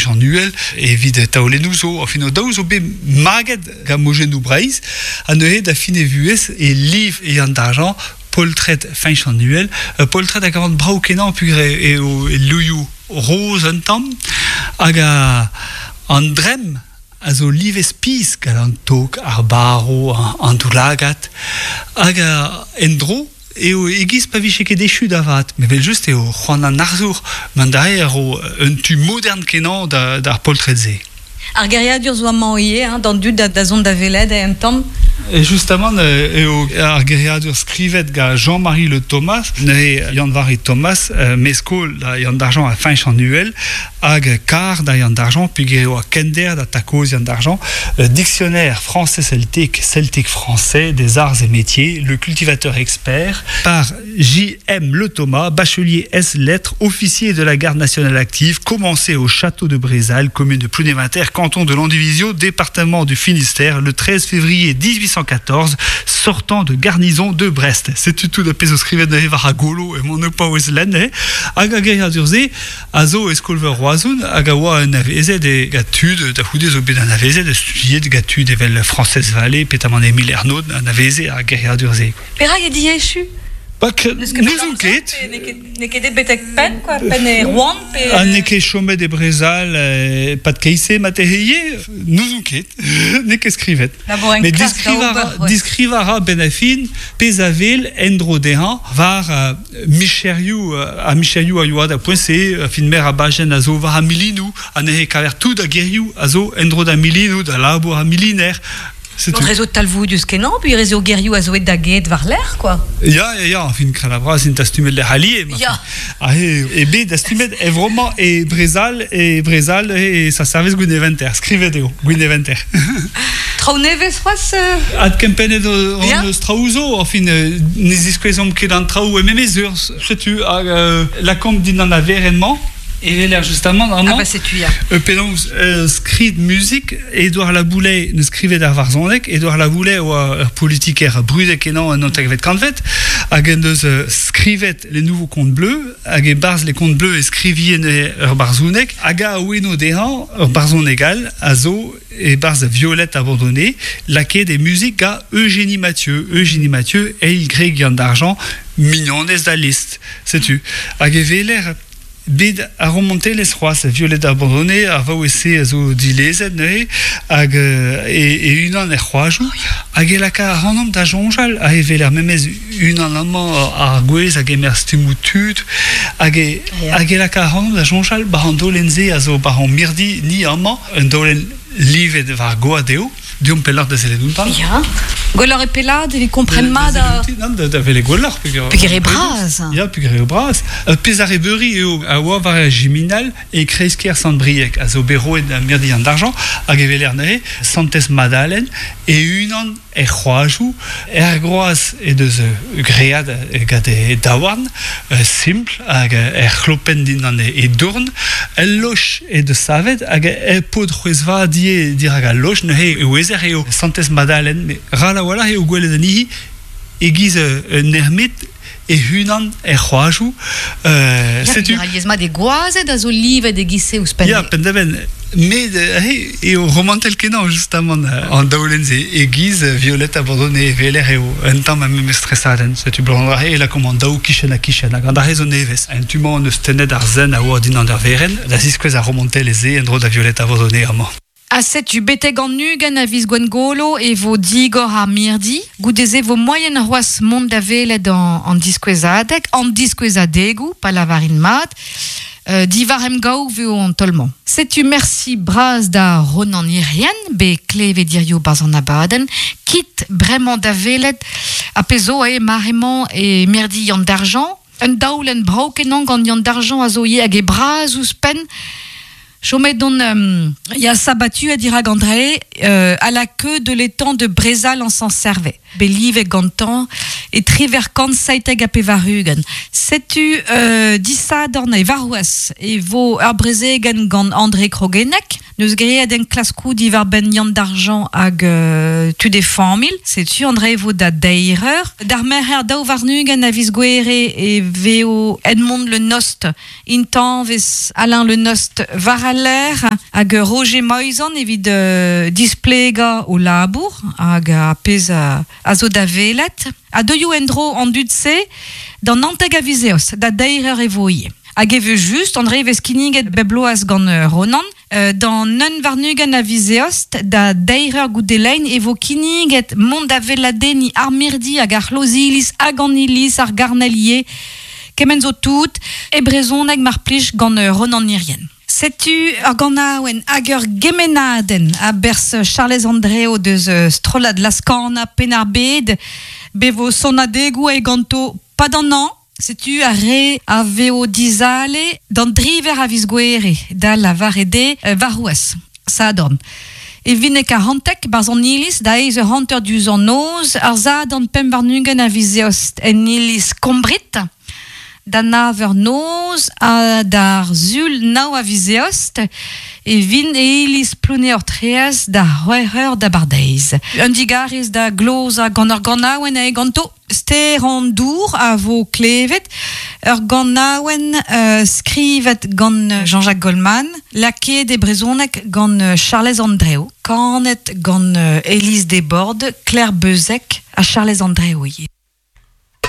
Feñch an Uhel evit taolennoù zo. Enfin, o daou zo bet maget gant mojennoù Breizh, ha neuze da fin e vuhez e liv e Yann Dargent poltred Feñch an Uhel, ur poltred a gavan brav-kenañ peogwir eo e louioù roz un tamm, hag an dremm a zo livet spis gant an tog, ar barv, an doulagad, hag en-dro eo e-giz pa vije ket echu da vat. Met evel-just eo c'hoant an arzour mont da eo un tu modern-kenañ d'ar poltred-se. Ar geriadur zo amañ ivez, hein, d'an dud da zont da welet un tamm. Et justement eo ar geriadur skrivet gant Jean-Marie Le Thomas, neuze Yann-Vari Thomas, meskol da Yann Dargent ha Feñch an Uhel, hag kar da Yann Dargent, peogwir e oa kender da Takoz Yann Dargent, Dictionnaire français-celtique, celtique-français des arts et métiers, le cultivateur expert, par J.M. Le Thomas, bachelier S lettres, officier de la garde nationale active, commencé au château de Brézal, commune de Plounéventer, canton de Landivisiau, département du Finistère, le 13 février 1814, sortant de garnison de Brest. Setu tout ar pezh zo skrivet neuze war ar golo emaon o paouez lenn, eh? Hag ar geriadur-se a zo e skol-veur Roazhon hag a oa anavezet e gant tud, da c'houde zo bet anavezet, studiet gant tud evel Frañsez Vallée, petamant Emil Ernod, anaveze ar geriadur-se. Perak eo diechu? N'ouzon ket. N'eo ket aet betek penn, quoi, penn e Rouen pe... Ha n'eo ket chomet e Brezal e-pad keit-se marteze ivez, n'ouzon ket, n'eo ket skrivet. Met diskrivañ a ra benn ar fin pezh a wel en-dro dezhañ war micherioù, ar micherioù a yoa da poent-se, fin meur a bajenn a zo war ar milinoù, ha neuze e kaver tout ar gerioù a zo en-dro d'ar milinoù, da labour ar miliner. Setu. Re zo talvoudus-kenañ, puis re zo gerioù a zo aet da get war-lerc'h, quoi. Ya, ya, ya, enfin, Kralabras int dastumet lec'h alies. Ya. Ah, e, e bet dastumet e vremañ e Brezal, e Brezal, e sa service Gwineventer. Skrivet eo, Gwineventer. Traoù nevez c'hoazh euh? Adkempennet hon yeah. eus traoù zo, enfin, ne ziskouezomp ket an traoù e memes urzh. Setu, hag euh, lakaomp dindan ar werenn-mañ. E weler justamant amañ ah bah setu ya. Penaos skrid muzik Edouard Laboulaye neus skrivet ar varzhoneg. Edouard Laboulaye oa ur politiker brudet-kenañ en naontekvet kantved hag en deus skrivet Les Nouveaux Contes Bleus hag e-barzh Les Contes Bleus e skrivie neuze ur barzhoneg hag a oueno dezhañ ur barzhoneg all a zo e-barzh Violette abandonnée lakaet e muzik gant Eugénie Mathieu. Eugénie Mathieu, eil gwreg Yann Dargent, mignonez da Liszt. Setu. Hag e weler Bet ar romantelezh c'hoazh, Violette Abandonnée, ar vaouez-se a zo dilezet neuze, hag e-unan er c'hoajoù, hag e laka ac'hanomp da soñjal, ha e weler memes unan amañ ar gwez a gemer stummoù tud, hag e, hag e laka ac'hanomp da soñjal 'ba an daolenn-se a zo 'ba hon mirdi ni amañ, un daolenn livet war goad eo. Deomp pelloc'h da sellet outañ. Ya. Gwelloc'h eo pellaat evit kompren mat ar... Nann, da welet gwelloc'h. Peogwir eo bras. Ya, peogwir eo bras. Pezh arrebeuri eo a oa war ar Jiminal e kreiz-kêr Sant-Brieg, a zo bet roet da mirdi an argent, hag e weler neuze Santez Madalen e-unan er c'hoajoù. Er groaz he deus graet gant he daouarn, simpl, hag er c'hlopenn dindan he dourn. El loch he deus savet hag e paotr c'hwezh-vat ivez dirak al loch. Neuze e ouezer eo Santez Madalen, met ral a-walc'h eo gwelet anezhi e-giz un ermit e-unan er c'hoajoù. Setu. Alies-mat e gwazed a zo livet e-giz-se ouzhpenn. Ya, penn-da-benn. Met eo romantel-kenañ justamant an daolenn-se. E-giz Violette abandonnée e weler eo un tamm ar memes tresadenn. Setu blanc e lakaomp an daou kichen-ha-kichen hag an dra-se zo nevez. En tu-mañ hon eus tennet ar zen a oa dindan ar werenn da ziskouez ar romantelezh-se en-dro da Violette abandonnée amañ. Ha setu betek an 20 a viz Gwengolo e vo digor ar mirdi. Goude-se vo moaien c'hoazh mont da welet an diskouezadeg, an diskouezadegoù, pa lavarin mat. Diwar emgav eo an taol-mañ. Setu mersi bras da Ronan Hirrien, bet klevet hiziv 'barzh an abadenn. Kit bremañ da welet ar pezh zo eo mare-mañ e mirdi Yann Dargent. Un daolenn brav-kenañ gant Yann Dargent a zo ivez hag e bras ouzhpenn. Chomet on Ya sabatuet dirak André à la queue de l'étang de Brezal en Saint-Servais. Bet livet gantañ e triwec'h 97 ha 80. Setu disadorn e warc'hoazh e vo ur brezegenn gant André Croguennec. N'eus graet enklaskoù diwar-benn Yann Dargent hag tud e familh. Setu André e vo da deir eur. D'ar merc'her 22 a viz Gouere e vezo Edmond Le Nost intañvez Alain Le Nost war al lec'h. Hag Roger Moizan evit displega o labour hag a pezh a zo da welet. Ha deuio en-dro an dud-se d'an 19 a viz Eost, da deir eur e vo ivez. Hag e just, André vez kinniget bep bloaz gant Ronan, d'an un warn-ugent a viz Eost, da deir eur goude lein e vo kinniget mont da weladenniñ ar mirdi hag ar c'hloz-iliz hag an iliz, ar garnelier, kement zo tout, e brezhoneg mar plij gant Ronan Hirrien. Setu ur ganaouenn hag ur gemennadenn a-berzh Charlez Andreo deus strollad Laz-Kana Penn-ar-Bed, bet vo sonadegoù aet ganto 'pad an hañv. Setu ar re a vezo dizale d'an driver a viz Gouere, da lavaret eo warc'hoazh, Sadorn. E Vinek ar Hantek, 'barzh an iliz, da eizh eur hanter diouzh an noz, ar Sadorn 25 a viz Eost en iliz Kombrit, da nav eur noz ha d'ar Sul nav a viz Eost e vin e iliz Plouneour-Traezh da c'hwec'h eur d'abardaez. Un digarez da glozañ gant ur ganaouenn eo ganto. Ster an dour a vo klevet, ur ganaouenn skrivet gant Jean-Jacques Goldman, lakaet e brezhoneg gant Charlez Andreo, kanet gant Élise Desbordes, Claire Beuzec ha Charlez Andreo ivez.